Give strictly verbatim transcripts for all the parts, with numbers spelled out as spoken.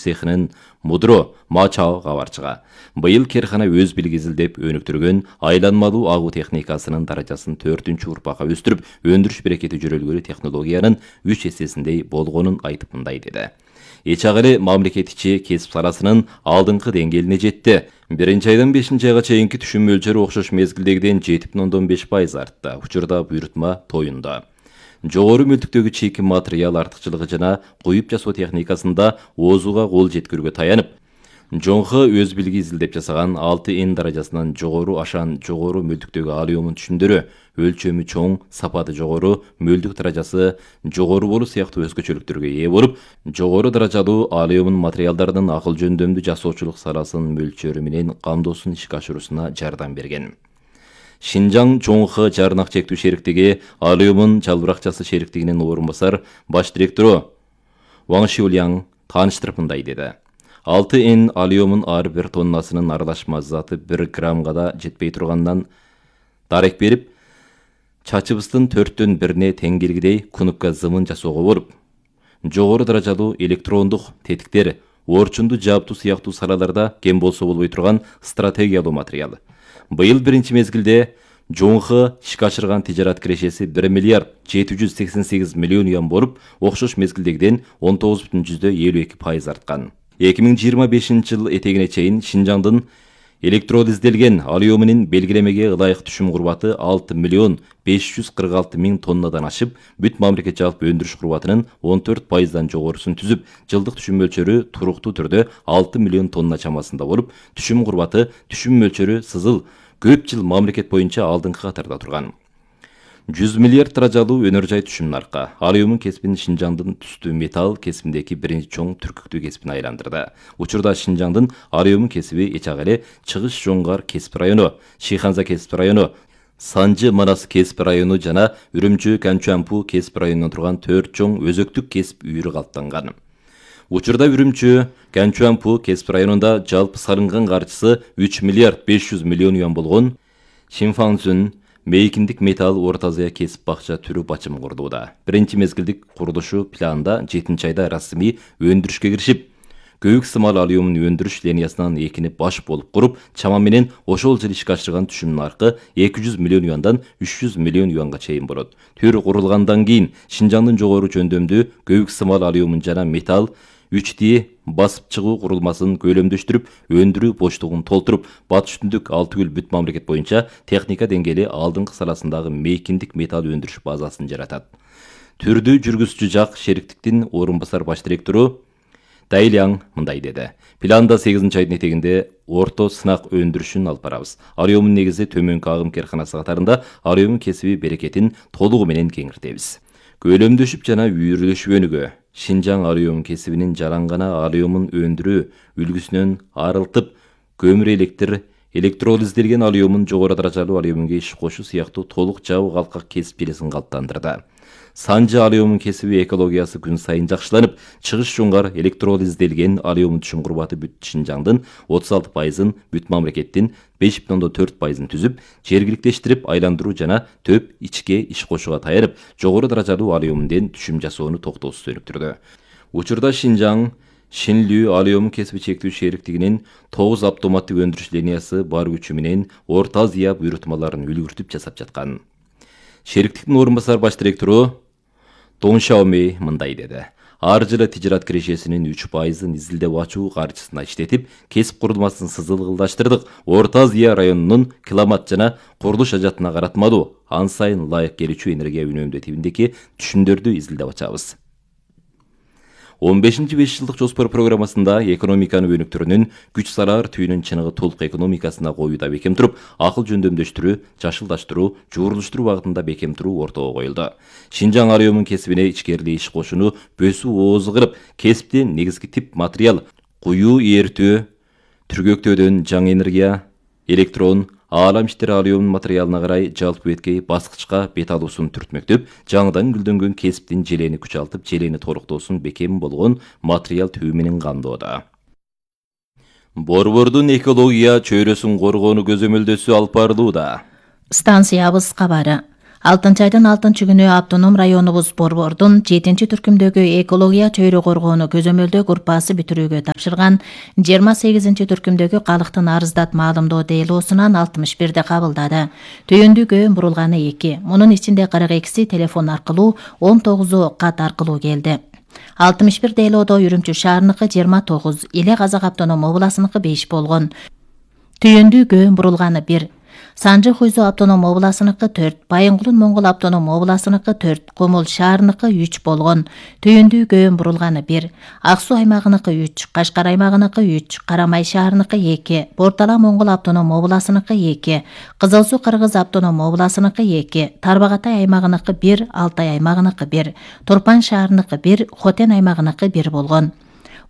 цехинин мудро Мачао кабарчыга. Быйыл керкана өз билги изилдеп өнүктүргөн айланмалуу агуу техникасынын даражасын төртүнчү урпакка өстүрүп, өндүрүш берекети жөрөлгөрү технологиянын үч эссесиндей болгонун айтып мындай деди. Эчагыле мамлекет ичи кесип саласынын алдыңкы деңгээлине жетти. Биринчи айдан бешинчи айга чейинки түшүм мөлчөрү окшош мезгилдегиден жети бүтүн ондон беш пайыз артты. Учурда буйрутма тоюнда. Жогору мөлтүктөгү чийки материал артыкчылыгы жана куюп жасоо техникасында оозуга кол жеткирүүгө таянып, Жоңхы өз билги изилдеп жасаган алты эн даражасынан жогору ашан жогору мөлтүктөгү алюмин түшүмдөрү өлчөмү чоң, сапаты жогору, мөлдүк даражасы жогору болуу сыяктуу өзгөчөлүктөргө ээ болуп, жогору даражалуу алюмин материалдардын акыл жөндөмдүү жасоочулук саласынын мөлчөрү менен камдоосун ишке ашыруусуна жардам берген. Шинжаң Жоңхы жарнак чектүү шериктиги алюмин жалбыракчасы шериктигинин орун басар баш директору Ваң Шиуляң тааныштырып мындай деди. алты эн алюмин ар бир тоннасынын аралашма заты бир граммга да жетпей турганынан дарек берип, чачыбыздын төрттөн бирине тең келгидей кунупка зымын жасоого болуп, жогору даражалуу электрондук тетиктер, орчунду жаптуу сыяктуу салаларда кем болсо болбой турган стратегиялуу материал. Быйыл биринчи мезгилде Жоңхы ишке ашырган тижарат кирешеси бир миллиард жети жүз сексен сегиз миллион юан болуп, окшош мезгилдегиден он тогуз бүтүн жүздө элүү эки пайыз арткан. эки миң жыйырма бешинчи жыл этегине чейин Шинжаңдын электролизделген алюминин белгилемеге ылайык түшүм курбаты алты миллион беш жүз кырк алты миң тоннадан ашып, бүт мамлекет жалпы өндүрүш курбатынын он төрт пайыздан жогорусун түзүп, жылдык түшүм мөлчөрү туруктуу түрдө алты миллион тонна чамасында болуп, түшүм курбаты, түшүм мөлчөрү сызыл көп жыл мамлекет боюнча алдыңкы катарда турган. жүз миллиард даражалуу өнөр жай түшүм наркы. Алюмин кесибин Шинжаңдын түстүү металл кесибиндеги биринчи чоң түркүктүү кесибине айландырды. Учурда Шинжаңдын алюмин кесиби эчак эле Чыгыш Жоңгар кесип району, Шиханза кесип району, Санжы Манас кесип району жана Үрүмчү Канчуампу кесип районунан турган төрт чоң өзөктүк кесип үйрү калыптанган. Учурда Үрүмчү Канчуампу кесип районунда жалпы салынган каржысы үч миллиард беш жүз миллион юан болгон Шинфаңзүн мейкиндик металл Орто Азия кесип бакча түрүп ачым курдууда. Биринчи мезгилдик курулушу планда жетинчи айда расмий өндүрүшкө киришип, көбүк сымал алюмин өндүрүш линиясынан экини баш болуп куруп, чама менен ошол жыл ишке ашырган түшүм наркы эки жүз миллион юандан үч жүз миллион юанга чейин болот. Төр курулгандан кийин Шинжаңдын жогору жөндөмдүү көбүк сымал алюмин жана металл үч ди басып чыгуу курулмасын көлөмдөштүрүп, өндүрүү боштугун толтуруп, батыш түндүк алты күл бүт мамлекет боюнча техника деңгээли алдыңкы саласындагы мейкиндик металл өндүрүш базасын жаратат. Түрдүү жүргүзүүчү жак шериктиктин орун басар баш директору Дайлиаң мындай деди. Планда сегизинчи айдын этегинде орто сынак өндүрүшүн алып барабыз. Алюмин негизи төмөнкү агым керканасы катарында алюмин кесиби берекетин толугу менен кеңиртебиз. Көлөмдөшүп жана үйрүлүшүп өнүгө. Шинжаң алюмин кесибинин жалаңгана алюмин өндүрүү үлгүсүнөн арылтып, көмүр электр, электролизделген алюмин жогору даражалуу алюминге иш кошуу сыяктуу толук жабык калкак кесип желесин калыптандырды. Санжы алюмин кесиби экологиясы күн сайын жакшыланып, Чыгыш Жоңгар электролизделген алюмин түшүм курбаты бүт Шинжаңдын отуз алты пайызын, бүт мамлекеттин беш бүтүн ондон төрт пайызын түзүп, жергиликтештирип айландыруу жана төп ичке иш кошууга таянып, жогору даражалуу алюминден түшүм жасоону токтоосуз өнүктүрдү. Учурда Шинжаң Шинлүү алюмин кесиби чектүү шериктигинин тогуз автоматтык өндүрүш линиясы бар күчү менен Орто Азия буйрутмаларын үлгүртүп жасап жаткан. Шериктиктин орун басар баш директору Дон Шаомей мындай деди. Ар жылы тижарат кирешесинин үч пайызын изилдеп ачуу каржысына иштетип, кесип курулмасын сызылгылдаштырдык. Орто Азия районунун климат жана курулуш ажатына каратмалуу, ан сайын ылайык келүүчү энергия үнөмдөө тибиндеги түшүмдөрдү изилдеп ачабыз. он бешинчи беш жылдык жоспор программасында экономиканы өнүктүрүүнүн күч салаар түйүнүн чыныгы толук экономикасына коюуда бекем туруп, акыл жөндөмдөштүрүү, жашылдаштыруу, жуурулуштуруу багытында бекем туруу ортого коюлду. Шинжаң алюмин кесибине ичкерилий иш кошууну бөсүү оозу кылып, кесиптин негизги тип материал куюу эртөө, түргөктөөдөн жаңы энергия, электрон, аалам иштер алюмин материалына карай жалпы беткей баскычка бет алуусун түртмөктөп, жаңыдан гүлдөнгөн кесиптин желени күчалтып, желени толуктоосун бекем болгон материал түбү менен камдоодо. Борбордун экология чөйрөсүн коргоону көзөмөлдөөсү алып барылууда. Станциябыз кабары. алтынчы айдын алтынчы күнү автоном районубуз Борбордун жетинчи түркүмдөгү экология чөйрө коргоону көзөмөлдөө группасы бүтүрүүгө тапшырган жыйырма сегизинчи түркүмдөгү калктын арыздат маалымдоо делоосунан алтымыш бирди кабылдады. Түйүндүгө бурулганы эки, мунун ичинде кырк экиси телефон аркылуу, он тогузу кат аркылуу келди. алтымыш бир делоодо Үрүмчү шаарыныкы жыйырма тогуз, Иле Казак автоном областыныкы беш болгон. Түйүндүгө бурулганы бир, Санжы Хуйзу автоном областыныкы төрт, Байынгулун Моңгол автоном областыныкы төрт, Комол шаарыныкы үч болгон. Түйүндүгө бурулганы бир, Ак Суу аймагыныкы үч, Кашкар аймагыныкы үч, Карамай шаарыныкы эки, Бортала Моңгол автоном областыныкы эки, Кызыл Суу Кыргыз автоном областыныкы эки, Тарбагатай аймагыныкы бир, Алтай аймагыныкы бир, Турпан шаарыныкы бир, Хотен аймагыныкы бир болгон.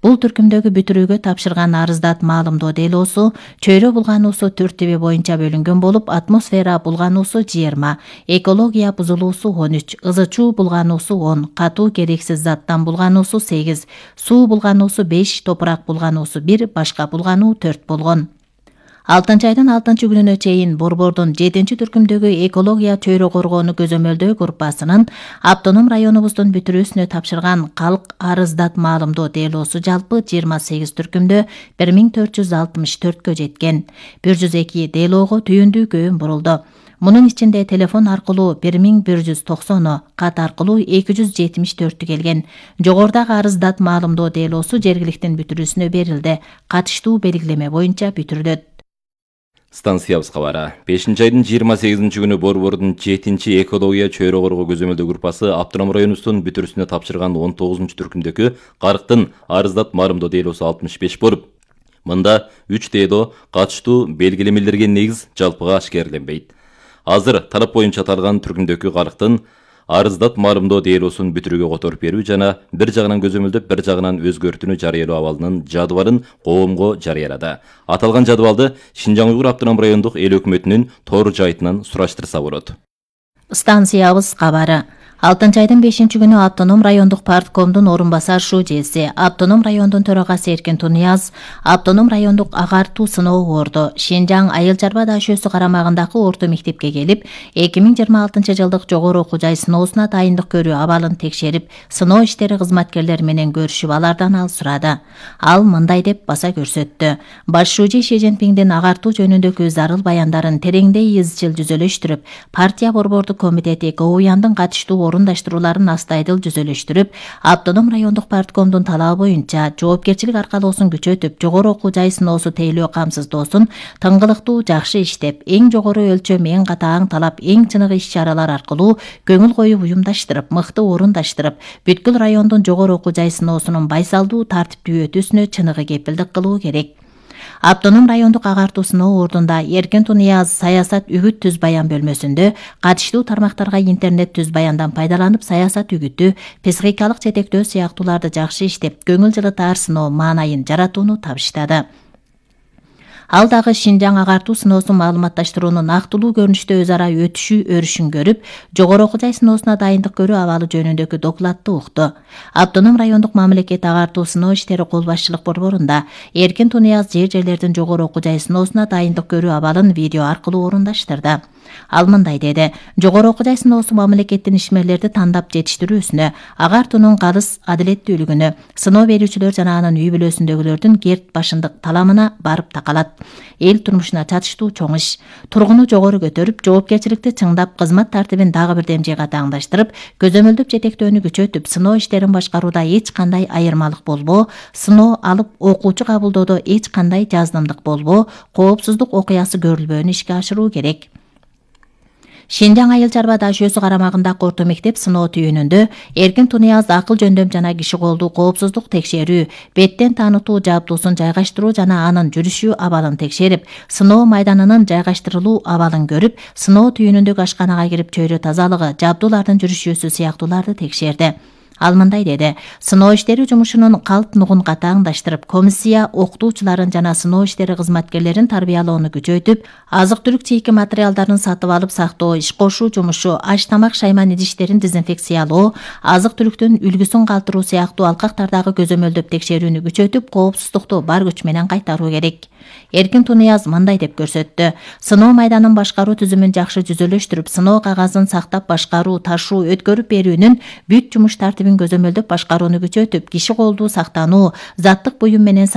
Бул түркүмдөгү бүтүрүүгө тапшырган арыздат маалымдоо делоосу чөйрө булгануусу төрт тиби боюнча бөлүнгөн болуп, атмосфера булгануусу жыйырма, экология бузулуусу он үч, ызы чуу булгануусу он, катуу керексиз заттан булгануусу сегиз, суу булгануусу беш, топурак булгануусу бир, башка булгануу төрт болгон. алтынчы айдын алтынчы күнүнө чейин Борбордун жетинчи түркүмдөгү экология чөйрө коргоону көзөмөлдөө группасынын автоном районубуздун бүтүрүүсүнө тапшырган калк арыздат маалымдоо делоосу жалпы жыйырма сегиз түркүмдө бир миң төрт жүз алтымыш төрткө жеткен. бир жүз эки делоого түйүндүгө бурулду. Мунун ичинде телефон аркылуу бир миң бир жүз токсону, кат аркылуу эки жүз жетимиш төртү келген. Жогорудагы арыздат маалымдоо делоосу жергиликтин бүтүрүүсүнө берилди. Катыштуу белгилеме боюнча бүтүрүлөт. Станциябыз кабары. бешинчи айдын жыйырма сегизинчи күнү Борбордун жетинчи экология чөйрө коргоо көзөмөлдөө группасы автоном районубуздун бүтүрүүсүнө тапшырган он тогузунчу түркүмдөгү карктын арыздат маалымдоо делоосу алтымыш беш болуп, мында үч дело катыштуу белгилемелерге негиз жалпыга ашкерленбейт. Азыр талап боюнча аталган түркүмдөгү карктын арыздат маалымдоо делоосун бүтүрүүгө которуп берүү жана бир жагынан көзөмөлдөп, бир жагынан өзгөртүүнү жарыялоо абалынын жадыбалын коомго жарыялады. Аталган жадыбалды Шинжаң Уйгур автоном райондук эл өкмөтүнүн тор жайтынан сураштырса болот. Станциябыз кабары. алтынчы айдын бешинчи күнү автоном райондук парткомдун орун басар шужеси, автоном райондун төрагасы Эркин Тунияз, автоном райондук агартуу сыноо орду Шинжаң Айыл Чарба даашөсү карамагындагы орто мектепке келип, эки миң жыйырма алтынчы жылдык жогору окуу жай сыноосуна дайындык көрүү абалын текшерип, сыноо иштери кызматкерлери менен көрүшүп, алардан ал сурады. Ал мындай деп баса көрсөттү. Баш шужи Ши Цзиньпиңдин агартуу жөнүндөгү зарыл баяндарын тереңдей изчил жүзөлөштүрүп, партия борбордук комитети КОУЯндын катыштуу орундаштырууларын астайдыл жүзөлөштүрүп, автоном райондук парткомдун талабы боюнча жоопкерчилик аркалоосун күчөтүп, жогору окуу жай сыноосу тейлөө камсыздоосун тыңгылыктуу жакшы иштеп, эң жогору өлчөм, эң катаң талап, эң чыныгы иш-чаралар аркылуу көңүл коюп уюмдаштырып, мыкты орундаштырып, бүткүл райондун жогору окуу жай сыноосунун байсалдуу, тартиптүү өтүүсүнө чыныгы кепилдик кылуу керек. Автоном райондук агартуу сыноо ордунда Эркин Тунияз саясат үгүт түз баян бөлмөсүндө катыштуу тармактарга интернет түз баяндан пайдаланып, саясат үгүтү, психикалык жетектөө сыяктууларды жакшы иштеп, көңүл жылытаар сыноо маанайын жаратууну табыштады. Ал дагы Шинжаң агартуу сыноосун маалыматташтыруунун актылуу көрүнүштө өз ара өтүшүү өрүшүн көрүп, жогору окуу жай сыноосуна дайындык көрүү абалы жөнүндөгү докладты укту. Автоном райондук мамлекет агартуу сыноо иштери кол башчылык борборунда Эркин Тунияз жер жерлердин жогору окуу жай сыноосуна дайындык көрүү абалын видео аркылуу орундаштырды. Ал мындай деди: жогору окуу жай сыноосу мамлекеттин ишмерлерди тандап жетиштирүүсүнө, агартуунун калыс адилеттүүлүгүнө, сыноо берүүчүлөр жана анын үй бүлөсүндөгүлөрдүн керт башындык таламына барып такалат. Эл турмушуна чатыштуу чоң иш, тургуну жогору көтөрүп, жоопкерчиликти чыңдап, кызмат тартибин дагы бир демжейге таңдаштырып, көзөмөлдөп жетектөөнү күчөтүп, сыноо иштерин башкарууда эч кандай айырмалык болбоо, сыноо алып окуучу кабылдоодо эч кандай жаздымдык болбоо, коопсуздук окуясы көрүлбөөнү ишке ашыруу керек. Шинжаң Айыл Чарба даашөсү карамагындагы орто мектеп сыноо түйүнүндө Эркин Тунияз акыл жөндөм жана киши колдуу коопсуздук текшерүү, беттен таанытуу жабдуусун жайгаштыруу жана анын жүрүшү абалын текшерип, сыноо майданынын жайгаштырылуу абалын көрүп, сыноо түйүнүндөгү ашканага кирип чөйрө тазалыгы, жабдуулардын жүрүшүүсү сыяктууларды текшерди. Ал мындай деди: сыноо иштери жумушунун калп нугун катааңдаштырып, комиссия окутуучуларын жана сыноо иштери кызматкерлерин тарбиялоону күчөйтүп, азык-түлүк чийки материалдарын сатып алып сактоо, иш кошуу жумушу, аш тамак шайман идиштерин дезинфекциялоо, азык-түлүктүн үлгүсүн калтыруу сыяктуу алкактардагы көзөмөлдөп текшерүүнү күчөтүп, коопсуздукту бар күч менен кайтаруу керек. Эркин Тунуяз мындай деп көрсөттү: сыноо майданын башкаруу түзүмүн жакшы жүзөлөштүрүп, сыноо кагазын сактап башкаруу, ташуу, өткөрүп берүүнүн бүт жумуш тартибин көзөмөлдөп башкарууну күчөтүп, киши колдуу сактануу, заттык буюм менен